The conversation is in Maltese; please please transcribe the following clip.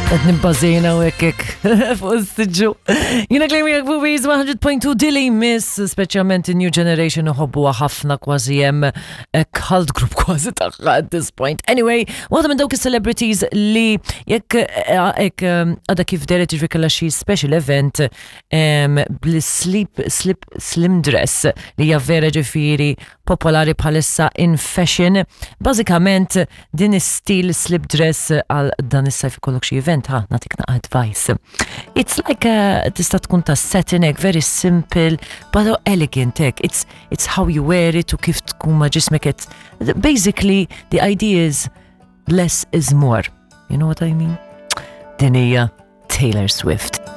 Qed nibbażejna u hekk hekk fuq is-siġġu. Jiena klejmi jekk fuq 100.2 Dilly Miss, speċjalment in-new generation uħobbuha ħafna kważi hemm eh, cult group kważi tagħha at this point. Anyway, waħda minn dawk is-celebrities li jekk eh, hekk eh, għadha kif deret jiġri kellha xi special event bl-sleep slip slim dress li hija vera ġifieri popolari bħalissa in fashion. Bażikament Din is-stil slip dress għal dan is-sajf ikollok xi event ha nagħtik naqa' advice. It's like a, tista' tkun ta' satin hekk very simple but elegant hekk. It's it's how you wear it u kif tkun ma' ġismek qed. Basically the idea is less is more. You know what I mean? Din hija Taylor Swift.